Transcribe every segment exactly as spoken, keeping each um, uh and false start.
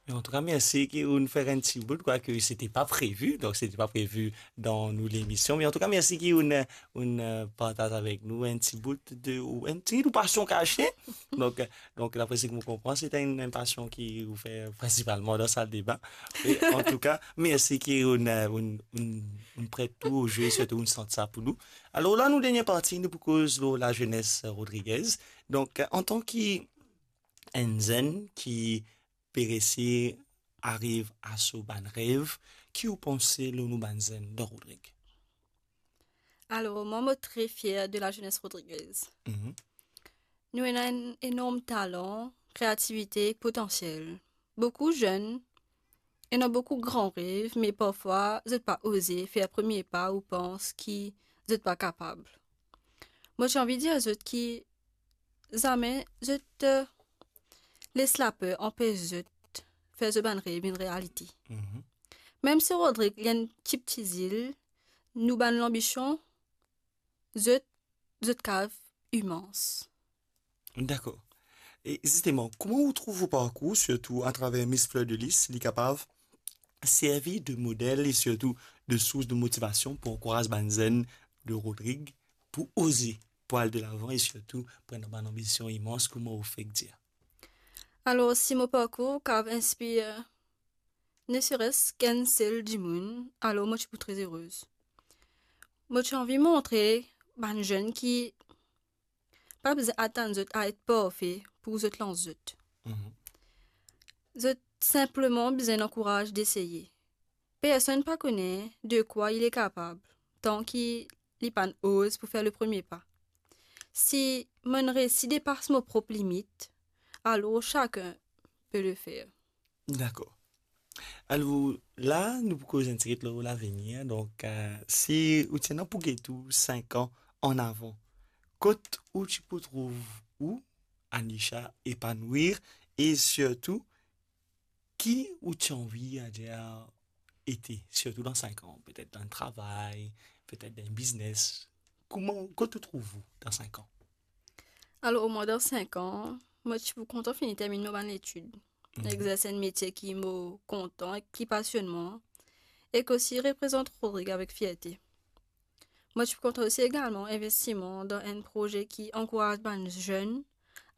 An tou ka, mersi ki ou'nn fer enn ti bout, kwake se ti pa previ, donk se ti pa previ dan nou lemision. Me an tou ka, mersi ki ou'nn, ou'nn, eh, partaz avek nou enn ti bout de, ou enn ti bout pasion kase. Donk, eh, donk, dapre seki mo konpran, se enn, enn pasion ki ou fer prinsipalman dan sal de bin. E an tou ka, mersi ki ou'nn, eh, ou'nn, ou'nn, ou'nn pret ou o ze, sirtou ou'nn sant sa pou nou. Alor la, nou dernie parti, nou pou koz lor lazenes Rodriguez. Donk, eh, antan ki enn zenn ki pe resi ariv a so bann rev, ki ou panse lor nou bann zenn dan Rodrig? Alor, mwa, mo tre fier de lazenes Rodriguez. Mhm. Nou ena enn enorm talan, kreativite, potansiel. Boukou zenn ena boukou gran rev, me parfwa zot pa oze fer premie pa ou pans ki zot pa kapab. Mo ti anvi dir zot ki zame zot, eh, les laper anpes zot fer zot bann rev vinn realite. Mhm. Mem si Rodrig li enn ti pti zil, nou bann lanbision, zot, zot kav imans. Dakor. E zisteman, kouma ou trouv ou parkour, sirtou atraver Miss Fleur de Lys, li kapav servi de model e sirtou de sours de motivasion pou ankouraz bann zenn de Rodrig pou oze, pou al delavan e sirtou pou ena bann anbision imans, kouma ou fek dir? Alor, si mo parkour kav inspir ne seres ki enn sel dimoun, alor mo ti pou tre erez. Mo ti anvi montre bann zenn ki pa bizin atann zot a et parfe pou zot lans zot. Mhm. Zot sinpleman bizin ankouraz deseye. Personn pa kone de kwa li kapab, tan ki li pa'nn oz pou fer le premie pa. Si mo'nn resi depas mo prop limit, alor sakenn pe le fer. Dakor. Alor, la, nou pou koz enn tigit lor lavenir. Donk, eh, si ou ti ena pou get ou sink an an avan, kot ou ti pou trouv ou, Anisha, epanouir, e sirtou, ki ou ti anvi, adir, ete, sirtou dan sink an, petet dan enn travay, petet dan enn biznes? Kouma, kot ou trouv ou dan sink an? Alor, mwa, dan sink an, mo ti pou kontan fini terminn mo bann letid, mhm, exerse enn metie ki mo kontan ek ki pasionn mwa, ek osi reprezant Rodrig avek fierte. Mo ti pou kontan osi egalman investi mwa dan enn proze ki ankouraz bann zenn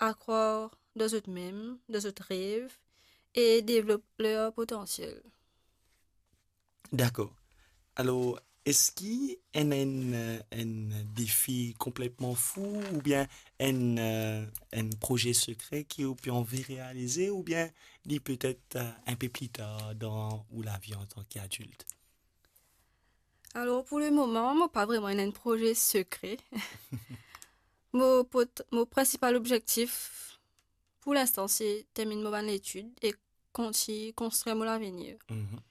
a krwar dan zot mem, dan zot rev, e devlop ler potansiel. Dakor. Alor, eski ena enn, eh, enn defi konpletman fou, oubien enn, eh, enn proze sekre ki ou pe anvi realize, oubien li petet, eh, enn pe pli tar dan ou lavi antan ki adilt? Alor, pou le moman, mo pa vreman ena enn proze sekre. Mo pot-, mo prinsipal obzektif pou linstan, se terminn mo bann letid e kontign konstrir mo lavenir. Mhm.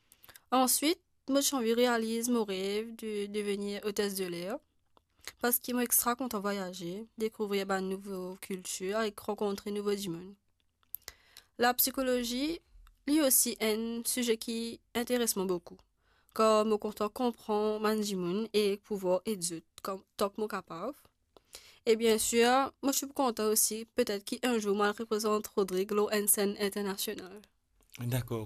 Answit, mo ti anvi realiz mo rev de devenir otes de ler, parski mo extra kontan vwayaze, dekouvrir bann nouvo kiltir ek rankontre nouvo dimoun. Lapsikolozi, li osi enn size ki interes mwa boukou, kar mo kontan konpran bann dimoun e pou ed zot kan, tan ki mo kapav. E biensir, mo ti pou kontan osi, petet ki enn zour mo al reprezant Rodrig lor enn senn internasional. Dakor.